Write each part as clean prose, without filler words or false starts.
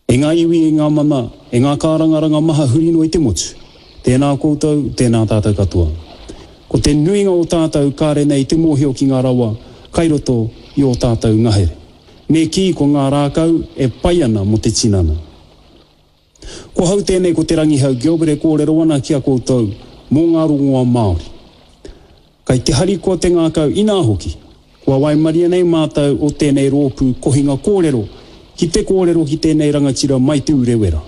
E ngā iwi, e ngā mana, e ngā kārangaranga maha huri noa i te motu, tēnā koutou, tēnā tātou katoa. Ko te nuinga o tātou kāre nei te mōhio ki ngā rawa kai roto i ō tātou ngahere. Me kī ko ngā rākau e pai ana mō te tinana. Ko hau tēnei ko Te Rangihau Gilbert e kōrero ana ki a koutou mō ngā rongoa Māori. Kai te harikoa te ngākau inā hoki, kua waimaria nei mātou o tēnei rōpū kohinga kōrero ki te kōrero ki tēnei rangatira mai Te Urewera,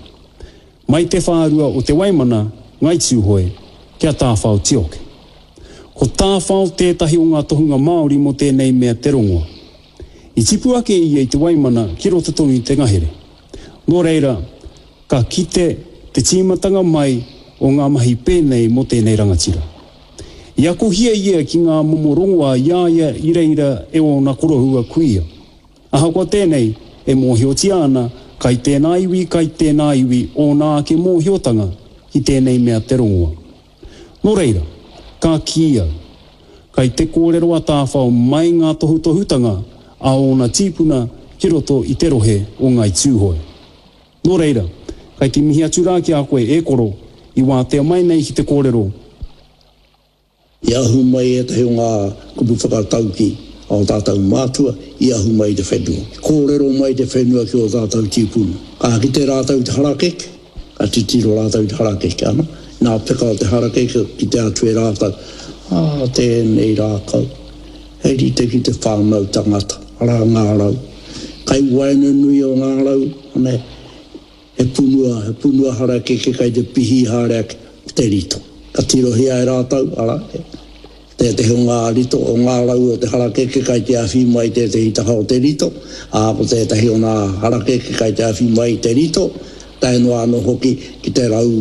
mai te whārua o Te Waimana, Ngai Tūhoe, ki a Tāwhao Tioke. Ko Tāwhao tētahi o ngā tohunga Māori mō tēnei mea te rongoa. I tipu ake ia i Te Waimana ki roto tonu i te ngahere. Nō reira, ka kite te tīmatanga mai o ngā mahi pēnei mō tēnei rangatira. I akohia ia ki ngā momo rongoā i a ia i reira e ōna koroua kuia. Ahakoa tēnei, e mōhiotia ana kai tēnā iwi, kai tēnā iwi ōna ake mōhiotanga ki tēnei mea te rongoa. Nō reira, ka kī au, kai te kōrero a Tāwhao mai ngā tohutohutanga a ōna tīpuna ki roto i te rohe o Ngāi Tūhoe. Nō reira, kai te mihi atu rā ki a koe e koro, i wātea mai nei ki te kōrero. I ahu mai ētahi o ngā kupu whakataukī a ō tātou mātua, i ahu mai i te whenua. Kōrero mai te whenua ki ō tātou tīpuna. Ka kite rātou i te harakeke, Ka titiro rātou i te harakeke, ana, nā peka o te harakeke kite atu e rātou, ā, tēnei rākau, he rite ki te whānau tangata, arā ngā rau. Kai waenganui o ngā rau, ana, he punua, he punua harakeke kai te pihī haere ake, ko te rito. Ka tirohia e rātou, arā, Tētehi o ngā rito, o ngā rau o te harakeke kai te awhi mai tētehi taha o te rito, ā, ko tētehi o ngā harakeke kai te awhi mai i te rito, tae noa anō hoki ki te rau,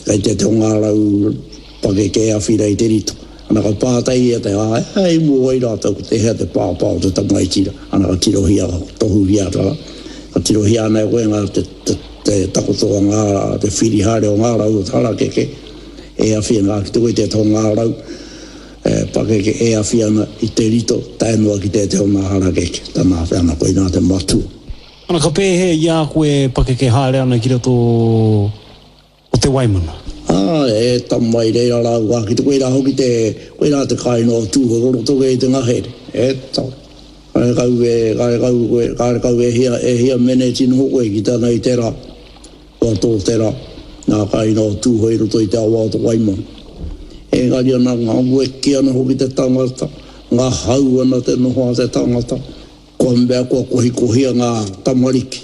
kai tētehi o ngā rau pakeke e awhi rā i te rito. Ana ka pātai ia te ā, he aha i mua ai rātou ko tēhea te pāpā o te tamaiti rā? Ana ka tirohia, ka tohuhia atu, arā, ka tirohia ana e koe ngā, te, te, te takoto o ngā, te whiri haere o ngā rau o te harakeke, E awhi ana ki te wete o ngā rau pakeke e awhi ana i te rito tae noa ki tētehi o ngā harakeke, tana awhi ana koinā te matua. Ana ka pēhea i a koe e pakeke haere ana ki roto o Te Waimana? Ā, e tama i reira rāua ki te koirā hoki te, koirā te kāinga o Tūhorotoke i te ngahere, e tama. Karekau e, karekau koe, karekau e hia, e hia meneti noho koe ki tana i te rā. Kua tō te rā, nā kāinga o Tūhoe i roto i te awa o Te Waimana. Engari ana, ngaweki ana hoki te tangata, ngahau ana te noho a te tangata, kua mea kua kohikohia ngā tamariki.